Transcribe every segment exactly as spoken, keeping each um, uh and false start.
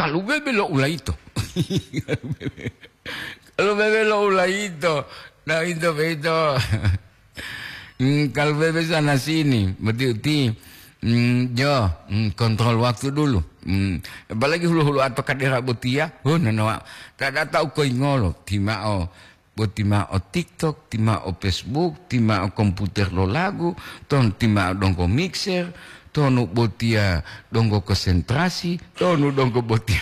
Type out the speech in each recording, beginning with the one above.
Kalu bebe lo ulaito. Kalu bebe lo ulaito. Nah, itu begitu. Hmm, kalu bebe sana sini, betul ti. Hmm, jo, hmm, kontrol waktu dulu. Hmm, apalagi hulu-hulu atau kadera botia. Oh, nanawa. Tak ada tahu koi ngolo. Timao. Bo ti ma'o TikTok, ti ma'o Facebook, ti ma'o komputer lo lagu, ton ti ma'o donggo mixer, tonu botiya donggo konsentrasi, tonu donggo botiya.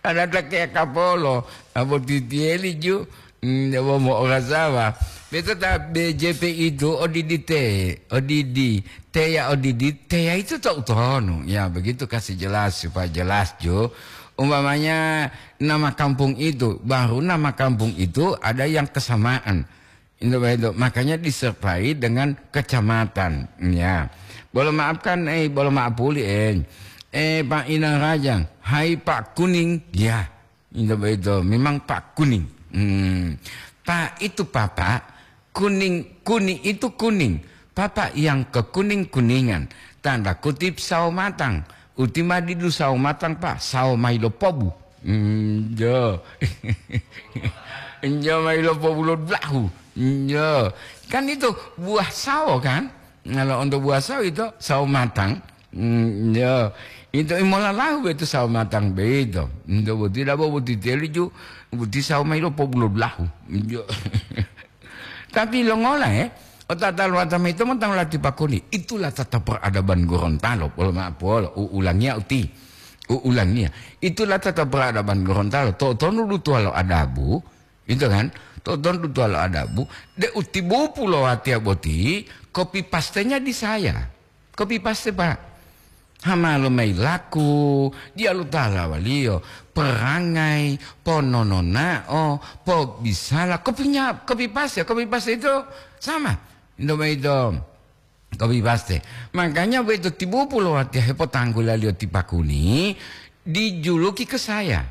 Ada takeya kapolo, abo titiyeli ju, mm, abo mo'orasawa. Beto ta B J P itu odidi te, odidi, teya odidi, teya itu to utonu. Ya, begitu kasih jelas, supaya jelas ju. Umpamanya nama kampung itu, baru nama kampung itu ada yang kesamaan. Itu begitu. Makanya disertai dengan kecamatan. Ya. Bolo maafkan, eh, bolo maaf puli, eh. Eh, Pak Inang Raja, hai Pak Kuning. Ya. Itu begitu. Memang Pak Kuning. Hmm. Pak itu Papa, kuning, kuning itu kuning. Papa yang kekuning-kuningan. Tanda kutip sawo matang. Uti ma didu sawo matang, Pak, sawo mayi lo pobu. Enjo. Enjo mayi lo pobu lo dulahu. Enjo. Kan itu buah sawo, kan? Kalau untuk buah sawo itu sawo matang. Enjo. Itu imolalahu itu sawo matang beito. Enjo boti dabo boti teliju, boti sawo mayi lo pobu lo dulahu. Enjo. Tapi longola, eh? Otatalo atama ito montang lati pakuli. Itulah tata peradaban Gorontalo. Polo ma'apolo, u'ulangiya uti. U'ulangiya. Itulah tata peradaban Gorontalo. To'otonu dutuwalo adabu, itu kan? To'otonu dutuwalo adabu, de utibupu lo watiya boti, kopi pastenya di saya. Kopi paste, Pak. Hama lo mayi laku, diyalu talawaliyo, perangai, ponononao, pobisala, kopinya, kopi paste, kopi paste itu sama. Indo mayi do, kopi paste. Makanya begitu tibupu lo watiya hepotanggulaliyo ti pakuni, dijuluki ke saya.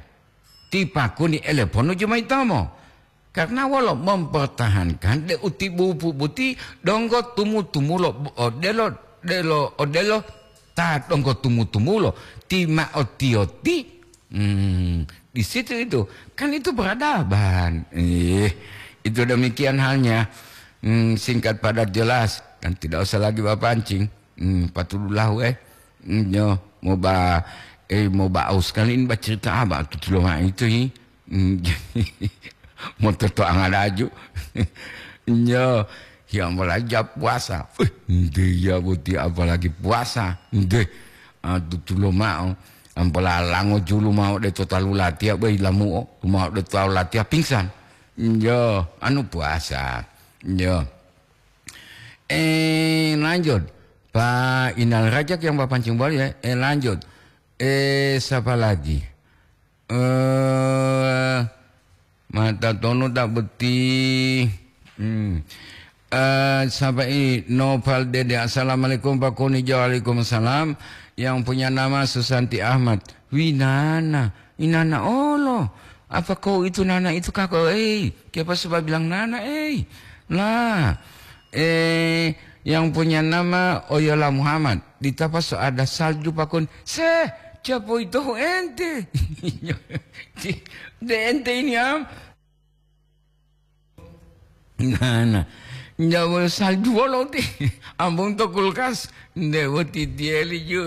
Ti pakuni eleponu jumaitomo. Karena wolo mempertahankan de utibupu buti donggo tumu-tumulo odelo, delo, odelo ta donggo tumu-tumulo ti ma otiyoti. Hmm, di situ itu. Kan itu peradaban. Eh, itu demikian halnya. Hmm, singkat padat jelas. Dan tidak usah lagi bapancing. Hmm, patudulahu, eh. Hmm, yo, moba, eh, moba aus kali ini bacerita apa? Tutulo itu, hi. Hmm, mototoanga laju. Nyo, ya mulai ja puasa. Eh, nde ya boti apalagi puasa. Nde, ah, tutulo ma'o. Ampala lango julu ma'o de totalu latiya, bai lamu'o. Ma'o de totalu latiya pingsan. Nyo, anu puasa. Nyo. Eh, lanjut. Pak Inal Rajak yang bapancing bali ya. Eh, lanjut. Eh, siapa lagi? Eh, mata tonu tak beti. Hmm. Eh, siapa ini? Noval Dede. Assalamualaikum, Pak Kuni. Waalaikumsalam. Yang punya nama Susanti Ahmad. Winana. Inana olo. Apa kau itu nana itu kako? Eh, siapa sebab bilang nana, eh? Lah. Eh, yang punya nama Oyola Muhammad. Di Tapaso ada salju, Pak Kuni. Seh, siapa itu ente? De ente ini, am? Nah, nah. Njawa salju wolo ti. Ambung to kulkas. Nde woti tieli ju.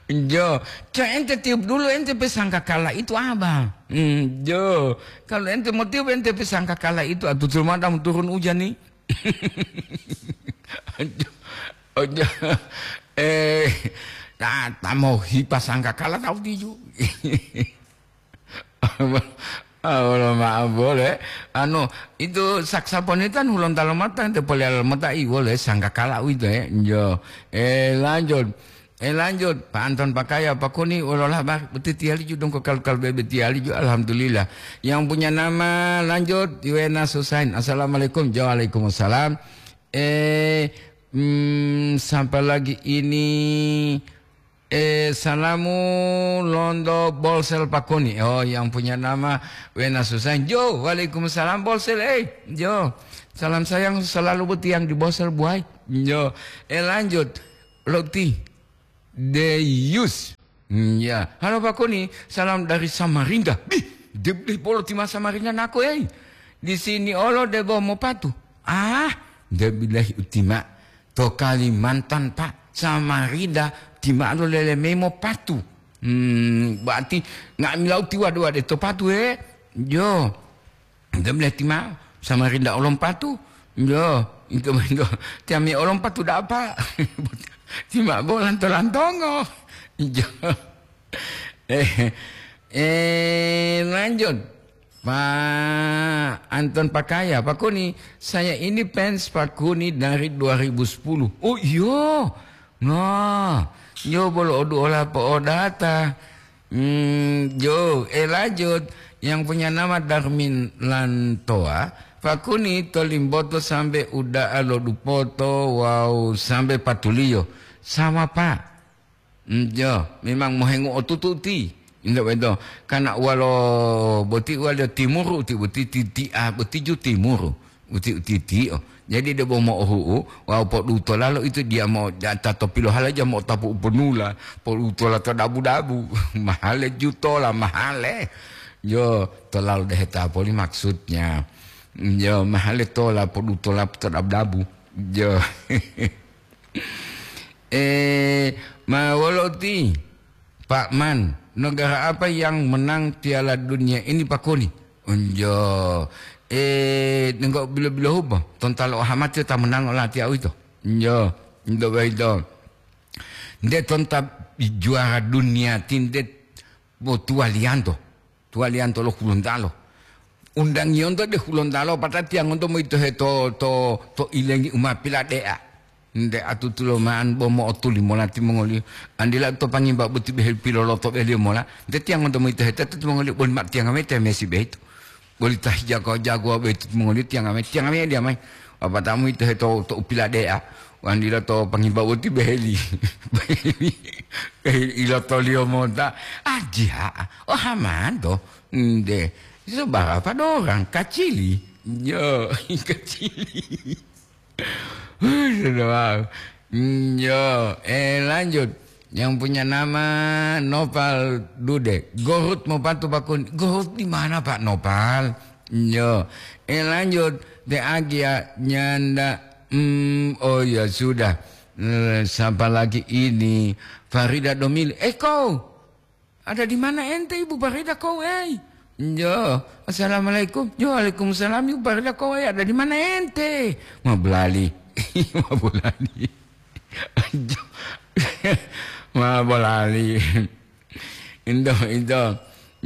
Jo, co ente tiup dulu ente pe sangkakala itu, Abang. Hmm, jo. Kalau ente mau tiup ente pe sangkakala itu, atutul madam turun hujan nih. Ojo, ojo. Eh, ta, ta mau hipa sangkakala tahu tiju. Ah, wala maaf boleh. Anu, itu saksafon itu kan hulon talo mata, itu poli alam mata, i boleh sangkakala itu, eh. Jo. Eh, lanjut. Eh, lanjut. Pak Anton Pakaya, Pak Kuni, wala lah, bah, beti tiali ju dong ko kal-, kal bebe tiali ju, alhamdulillah. Yang punya nama, lanjut, Iwena Susain. Assalamualaikum. Jo, waalaikumsalam. Eh, hmm, siapa lagi ini? Eh, salamu londo Bolsel Pakuni. Oh, yang punya nama Wena Susan. Jo, waalaikumsalam Bolsel. Eh, Jo. Salam sayang selalu buat yang di Bolsel buai. Jo. Eh, lanjut. Loti. Deyus. Hmm, ya. Halo Pak Kuni, salam dari Samarinda. Bih, debleh bolo tima Samarinda nako ei. Di sini olo debo mopatu. Ah, debleh utima. To Kalimantan, Pak. Samarinda, tima lo lele memo patu. Hmm, berarti nga'amila utiwa dua de to patu, eh. Jo. Debleh tima Samarinda olom patu. Jo, itu, itu. Tiami olom patu da'a, Pak. Tima bolan to lantongo. Jo. Eh, eh, lanjut. Pak Anton Pakaya, Pak Kuni, saya ini fans Pak Kuni dari dua ribu sepuluh. Oh, iyo. Nah, yo bolo odu ola po odata. Hmm, jo, eh, lanjut. Yang punya nama Darmin Lantoa, Pak Kuni to Limboto sambe uda'a lo Dupoto wawu sambe patuliyo. Sama, Pak. Njo, memang mohengu otutu ti. Njo beto, kana walo boti walo timuru ti boti ti, ti, ah, boti ju timuru. Uti, uti, ti, oh. Jadi debo mo'ohu'u, wawu podutola lo itu dia mo, ta to pilohalaja mo'otapu uponula, podutola to dabu-dabu. Mahale jutola, mahale. Jo, tolalo deheta poli maksudnya. Jo, mahale tola, podutola to dabu-dabu. Jo. Eh, ma wolo ti, Pak Man, negara apa yang menang Piala Dunia ini, Pak Kuni? Unjo, eh, nenggo bilo-bilo hubo, tontalo ohamati ta menang olati au ito. Unjo, ndo baito. Nde tonta juara dunia ti nde bo tuwaliyanto. Tuwaliyanto lo Hulontalo. Undangiyonto de Hulontalo, patatiyangonto moyitohe to, to, to ilengi u ma pilade'a. Nde atutulo ma'an bo mo'otuli mola timongoliyo. Andila to pangimba boti behe piloloto beliyo mola. Nde tiyangonto moyitohe teto timongoliyo boli ma tiyanga mayi te mesi behitu. Boli ta hijago-jagowa boyito timongoliyo tiyanga mayi, tiyanga mayi diya mayi. Lapata'o moyitohe to, to u pilade'a. Wandila to pangimba boti beheli. Beheli. Beheli ilotoliyo mota. Ajiha'a. Oh, hamanto. Nde. Iso barapa dorang? Kacili. Yo, kacili. Sudah, wow. Yo, eh, lanjut. Yang punya nama Nopal Dude. Gohut mau patu bakun. Gohut di mana, Pak Nopal? Yo. Eh, lanjut. De Agia nyanda. Hmm, oh ya sudah. Eh, siapa lagi ini? Farida Domili. Eh, kau. Ada di mana ente, Ibu Farida, kau, eh? Yo. Assalamualaikum. Yo, waalaikumsalam, Ibu Farida, kau, eh? Ada di mana ente? Ma bulali. Ma bulali. Ma bulali. Indo, indo.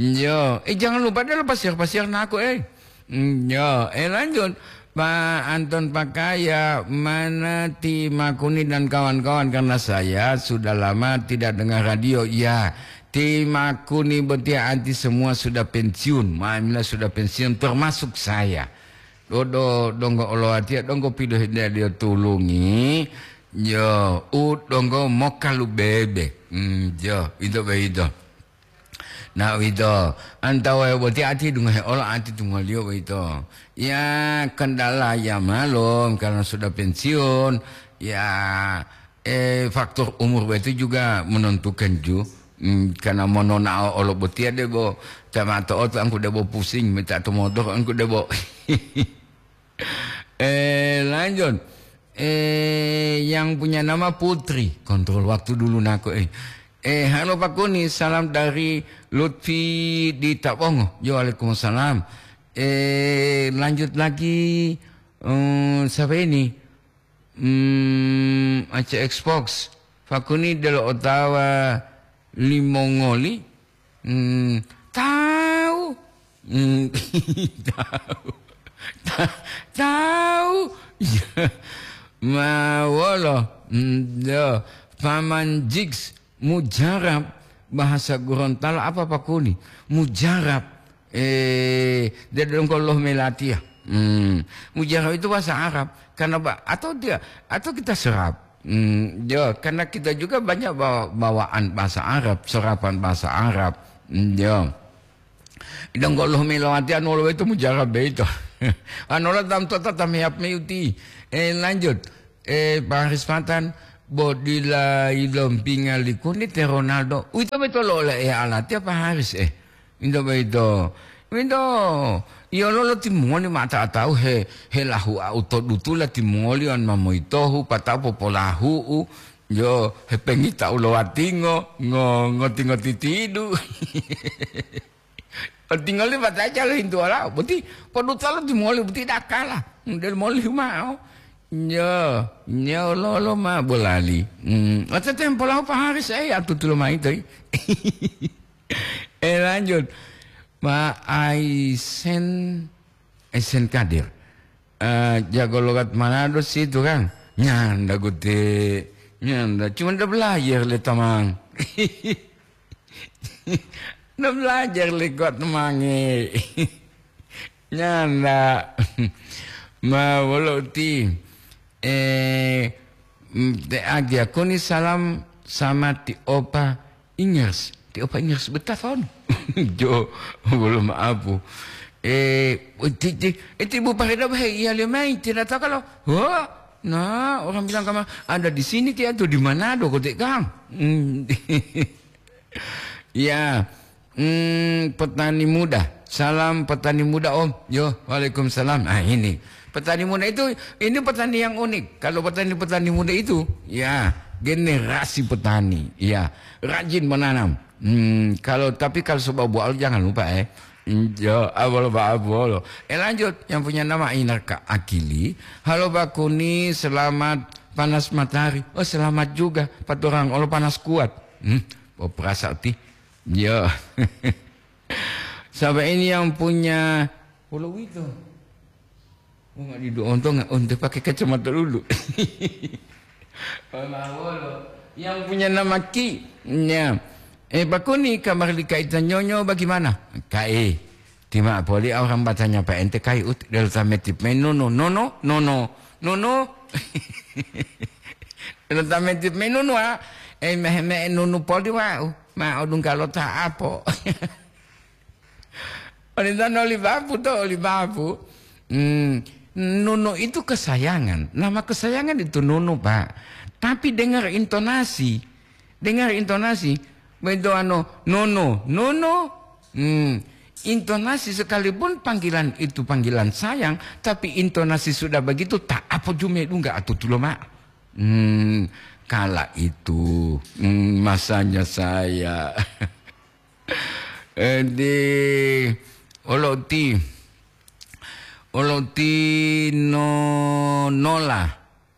Yo, eh, jangan lupa deh lo pasir-pasir nako, eh. Mm, yo, eh, lanjut. Pak Anton Pakaya, mana Ti Makuni dan kawan-kawan? Karena saya sudah lama tidak dengar radio. Ya, Ti Makuni botia anti semua sudah pensiun. Maimila sudah pensiun, termasuk saya. Dodo donggo oloatia, donggo pidohideliyo tulungi. Yo, u donggo mokalubebe. Mm, yo, itu begitu. Nah, uwito, antawa boti ati dungohe olo ati tumoliyo boyito. Ya, kendala ya malum karena sudah pensiun. Ya, eh, faktor umur boyito juga menentukan ju. Hmm, karena mononao olo botiya debo, tamato oto angku debo pusing, minta to motor angku debo. Eh, lanjut. Eh, yang punya nama Putri. Kontrol waktu dulu nako, eh. Eh, halo Pak Kuni, salam dari Lutfi di Tabongo. Yo, waalaikumsalam. Eh, lanjut lagi. Eh, siapa ini? Hmm, Aceh Xbox. Pak Kuni delo otawa limongoli. Hmm, tahu. Hmm, tahu. Ta-, tahu. Ya. Ma wolo. Hmm, ya. Paman Jigs, mujarab, bahasa Gorontalo apa, Pak Kuni? Mujarab. Eh, dia dongko loh melatiya. Hmm. Mujarab itu bahasa Arab. Karena ba-, atau dia, atau kita serap. Hmm, ya, karena kita juga banyak bawa-, bawaan bahasa Arab, serapan bahasa Arab. Hmm, ya. Donggo loh melatiya, anu lo itu mujarab itu. Anu lo tam tota tam yap meyuti. Eh, lanjut. Eh, Pak Haris Patan, Bo dila yilompinga likuni te Ronaldo. Uwito boyito loloeya latiya Pak Haris, eh. Uwito boyito. Uwito, yololo timongoli ma ta-, tawu he, helahu'au to dutula timongoli on ma moyitohu, pata'u popolahu'u, yo hepengita'u lo watingo, ngo-, ngoti-ngoti tidu. Tingoli bataja lohintu olau, boti poduta lo timoli boti dakala, model moli humao. Nyo, nyo lolo ma bolali. Hmm, ote tempo lau Pak Haris, eh, atutulo mai toi. Eh, lanjut. Ma Aisen, Aisen Kadir. Eh, jago logat Manado situ kan? Nyanda gute, nyanda. Cuma udah belajar le tamang. Udah belajar le kuat temange. Nyanda. Ma wolo uti. Eh, mm, te agia koni salam sama ti opa Ingers, ti opa Ingers betafon. Jo, wolo maapu. Eh, ti, ti, eh, ti Bu Parida bahe iya le mai, tidak tahu kalau, wah, nah, orang bilang kamu ada di sini, dia tuh di Manado, kote kang. Hmm. Ya, hmm, petani muda. Salam petani muda, Om. Yo, waalaikumsalam. Ah, ini. Petani muda itu, ini petani yang unik. Kalau petani-petani muda itu, ya, generasi petani, ya, rajin menanam. Hmm, kalau, tapi kalau sebab buah jangan lupa, eh. Hmm, yo, abolo, abolo. Eh, lanjut, yang punya nama Inarka Akili. Halo, Bakuni, selamat panas matahari. Oh, selamat juga. Paturang, olo panas kuat. Hmm, oh, perasa ti. Yo. Sampai ini yang punya pulau itu. Oh, nggak didu ontong, nggak onte pakai kacamata dulu. Oh, mawolo. Yang punya nama Ki, ya. Eh, Bakuni, kabar di Kaita Nyonyo bagaimana? Kae, tima poli orang batanya Pak Ente kai ut del tametip menunu, nono, nono, nono. Del tametip menunu, ah. Eh, meh, meh, nunu poli, wau. Ma odungga lo ta apo. Olintono oli bapu to, oli bapu. Hmm, Nunu itu kesayangan. Nama kesayangan itu Nunu, Pak. Tapi dengar intonasi. Dengar intonasi. Begitu ano, Nunu, Nunu. Hmm, intonasi sekalipun panggilan itu panggilan sayang, tapi intonasi sudah begitu, tak apa jume dungga atau tulo, Mak. Hmm, kala itu, hmm, masanya saya. Eh, di, olo ti, olo ti no, nola,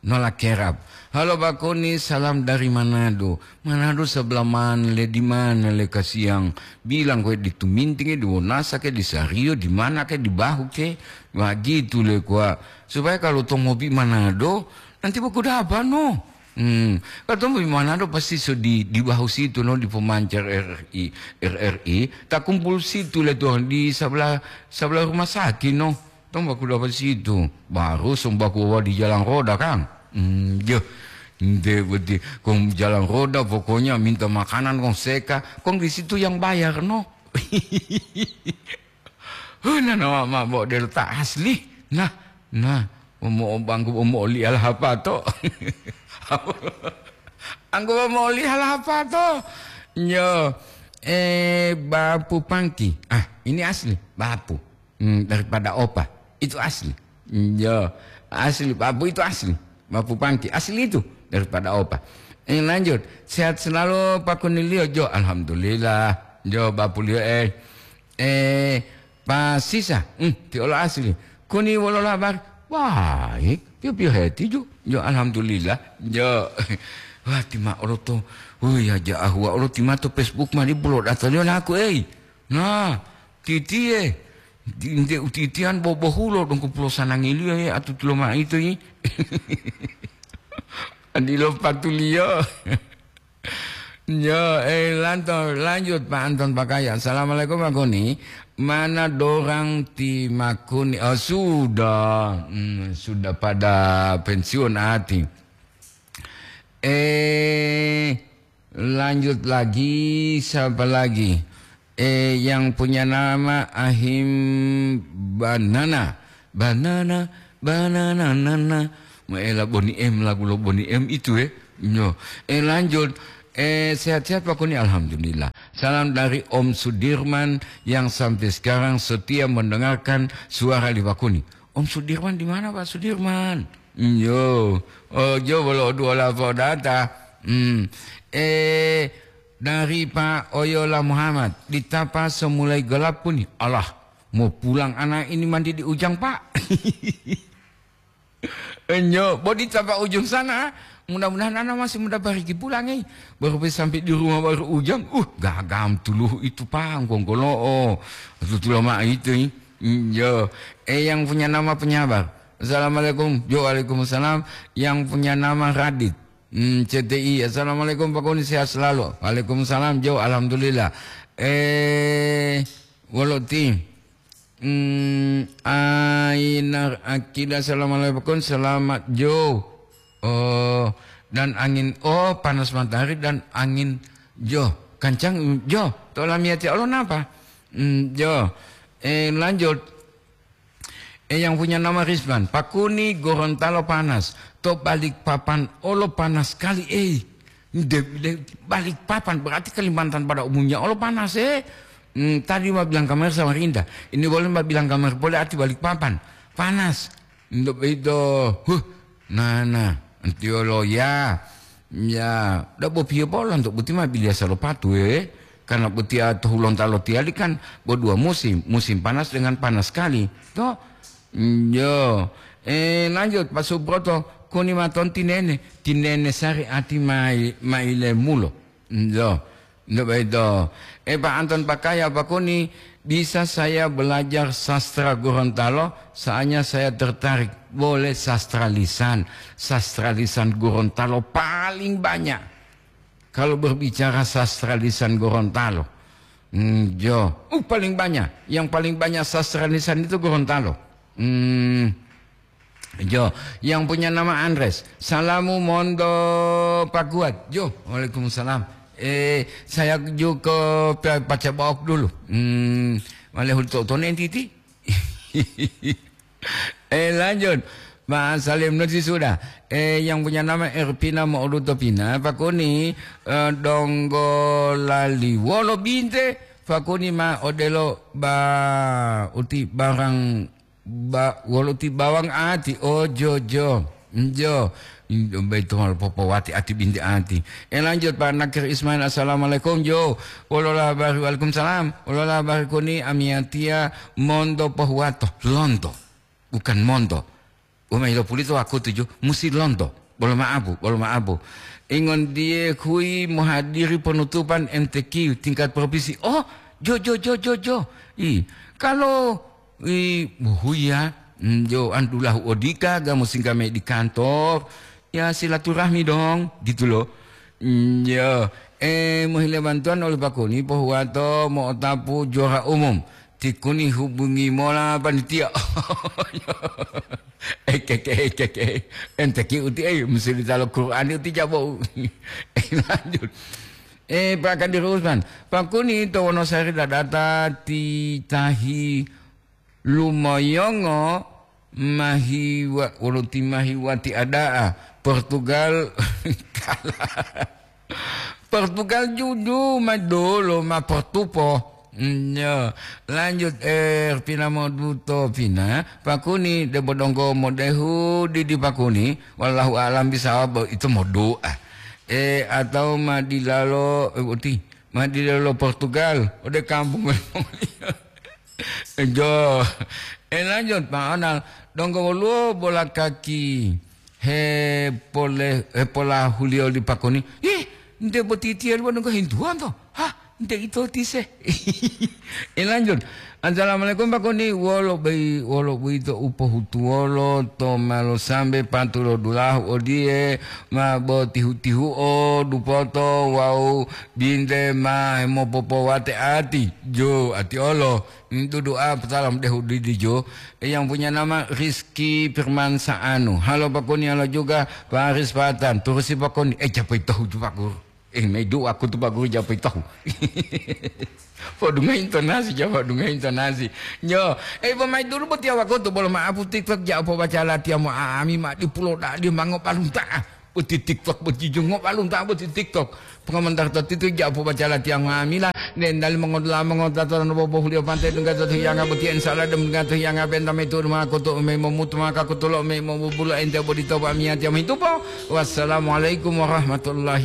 nola kerap. Halo Bakoni, salam dari Manado. Manado sebelah mana le, di mana le kasiang? Bilang kowe di Tuminting, di Wonasa ke, di Sario, di mana ke, di Bahu ke? Wah, gitu le kuwa. Supaya kalau to mobi Manado, nanti boku dapa no. Hmm, katong bi Manado pasti so di, di Bahu situ no, di pemancar R R I, R R I, tak kumpul situ le tuh di sebelah, sebelah rumah sakit no. Tong baku dapat situ, baru song baku bawa di jalan roda kan. Hmm, yo, nde berarti kong jalan roda pokoknya minta makanan kong seka, kong di situ yang bayar no. Huh, nah, nah, ma, ma, bo, delo ta asli. Nah, nah, omo, omo, angku omo oli alhapato. Angku omo oli alhapato. Nyo, eh, Bapu Pangki. Ah, ini asli, Bapu. Hmm, daripada Opa. Itu asli. Nyo, asli, Bapu itu asli. Bapu Pangki, asli itu daripada Opa. Eh, lanjut. Sehat selalu, Pak Kunilio, Jo. Alhamdulillah. Jo, Bapu Lio, eh. Eh, Pak Sisa, hmm, ti olo asli. Kuni wolo labar? Wah, eh, pio-pio heti ju. Jo, alhamdulillah. Jo. Wah, tima olo to. Wih, aja ahua olo tima to Facebook mani bulo data lio naku, eh. Nah, titie. Di, nde utitian bobohulo dongko pulo sanangiliyo, eh, atutulo ma ito, eh. Adilo patuliyo. Yo, eh, lanto-, lanjut, Pak Anton Pakaya. Assalamualaikum, Pak Kuni. Mana dorang ti Makuni? Oh, sudah. Hmm, sudah pada pensiun ati. Eh, lanjut lagi, siapa lagi? Eh, yang punya nama Ahim Banana. Banana, banana, nana. Maela Boni M, lagu lo Boni M itu, eh. Yo, eh, lanjut. Eh, sehat-sehat Pak Kuni, alhamdulillah. Salam dari Om Sudirman yang sampai sekarang setia mendengarkan suara li Pak Kuni. Om Sudirman di mana, Pak Sudirman? Yo, oh, jo bolo dua lapo data. Hmm. Eh, dari Pak Oyola Muhammad, di Tapa semulai gelap Kuni. Allah, mau pulang anak ini mandi di Ujang, Pak. Enyo, bodi tapa ujung sana. Mudah-mudahan ana masih muda bariki pulang, eh. Baru pe sampai di rumah baru Ujang. Uh, gagam tuluhu itu, Pak, gongkolo'o. Tutula mah itu, eh. Enyo. Eh, yang punya nama penyabar. Assalamualaikum. Jo, waalaikumsalam. Yang punya nama Radit. Hmm, C T I. Assalamualaikum, Pak Kuni, sehat selalu. Waalaikumsalam, Jo. Alhamdulillah. Eh, wolo ti. Hmm, Ainar Akida, assalamualaikum, selamat Jo. Oh, dan angin, oh, panas matahari dan angin Jo. Kancang Jo, to lamiyati Allah napa? Hmm, Jo. Eh, lanjut. Eh, yang punya nama Rizman, Pak Kuni Gorontalo panas, to Balikpapan olo panas kali, eh. De, de, Balikpapan berarti Kalimantan pada umumnya olo panas, eh. Hmm, tadi ma bilang kamar Samarinda. Ini boleh ma bilang kamar boleh arti Balikpapan. Panas. Untuk itu, huh, nana, antiolo ya. Ya, da bopiye bolo untuk buti ma bilia salopatu, eh. Karena buti to Hulontalo tiyali kan bo dua musim, musim panas dengan panas sekali. To, yo. Eh, lanjut, Pak Subroto, Kuni maton tinene, tinene sari ati mai, mai lemulo. Yo. Nggak begitu. Eh, Pak Anton Pakaya, Pak Kuni, bisa saya belajar sastra Gorontalo? Soalnya saya tertarik. Boleh sastra lisan. Sastra lisan Gorontalo paling banyak. Kalau berbicara sastra lisan Gorontalo. Hmm, jo. Uh, paling banyak. Yang paling banyak sastra lisan itu Gorontalo. Hmm. Jo, yang punya nama Andres. Salamu mondo Pak Kuat. Jo, waalaikumsalam. Eh, saya jo ke pa-, paca baok dulu. Hmm, wale hul to-, tone entiti. Eh, lanjut. Ma salim nusi sudah. Eh, yang punya nama Erpina Mo'oduto Pina. Pak Kuni, eh, donggo lali wolo binte. Pak Kuni ma odelo ba uti barang Ba, wolo ti bawang ati, oh, jo, jo. Jo. Baito mal popowati ati binti ati. Eh, lanjut, Pak Nakir Ismail, assalamualaikum, jo. Wolola bari, waalaikumsalam. Wolola bari Kuni, amiyatia, mondo pohuwato. Lonto. Bukan monto. Umai lo pulito wakutu, jo. Musi lonto. Bolo ma'apu, bolo ma'apu. Ingon die kui mohadiri penutupan M T Q tingkat provinsi. Oh, jo, jo, jo, jo, jo. I, kalau, i, buhuya, mm, jo, andulahu odika, ga musim kami di kantor. Ya, silaturahmi dong, gitu loh. Mm, ya, eh, mohile bantuan oleh Pak Kuni, pohuwato, mo'otapu, juara umum. Ti Kuni hubungi mola panitia. Ekeke, ekeke. Enteki uti, eh, musulita lo Qur'an uti jabo. Eh, lanjut. Eh, Pak Kadir Usman. Pak Kuni to Wonosari dadata ti tahi lumoyongo mahiwa, wolo ti mahiwati ada'a. Portugal kalah. Portugal juju ma dolo ma portupo. Nyo, lanjut, eh, pina moduto pina, Pakuni, debo donggo modehu didi Pakuni, wallahu a'lam bisawab, itu modoa. Eh, atau ma dilalo, eh, uti, ma dilalo Portugal, ode kampung. Jo, eh, lanjut, Pak Onal, donggo woluwo bola kaki. Hepole-, hepolahuliyo li Pakuni, "Ih, nte boti tiyali wonu ngohintuwanto? Hah, nte ito tise?" Eh, lanjut. "Assalamualaikum, Pakuni. Wolo bei-, wolo boyito u pohutuwolo to malo sambe patulo dulahu odiye ma bo tihu-tihuo dupoto wawu binte ma hemopopowate ati?" Jo, ati olo. Dudu'a salam dehu didijo, yang punya nama Rizky Firman Saanu. Halo Pakuni, halo juga Pak Aris Patan. Turusi Pakuni. Eh, japai tahu tu Pak Guru. Eh, maidu aku tu Pak Guru japai tahu. Podunga intonasi, jawab dunga intonasi. Nyo, eh, pemain dulu buat ya waktu tu, boleh maaf, TikTok ja apa baca latihan mo ami mak di pulau dak di mango palunta. Boti TikTok, boti jungo balum ta boti TikTok. Pengamantar to titu ja po baca latihan ngamila. Nendali mengodola mengota to bobo hulio pantai dengga to hiyanga boti ensala dem dengga to hiyanga benta metu rumah koto me momutu maka koto lo me mobubulo ente bodi to ba miya tiam hitupo. Wassalamualaikum warahmatullahi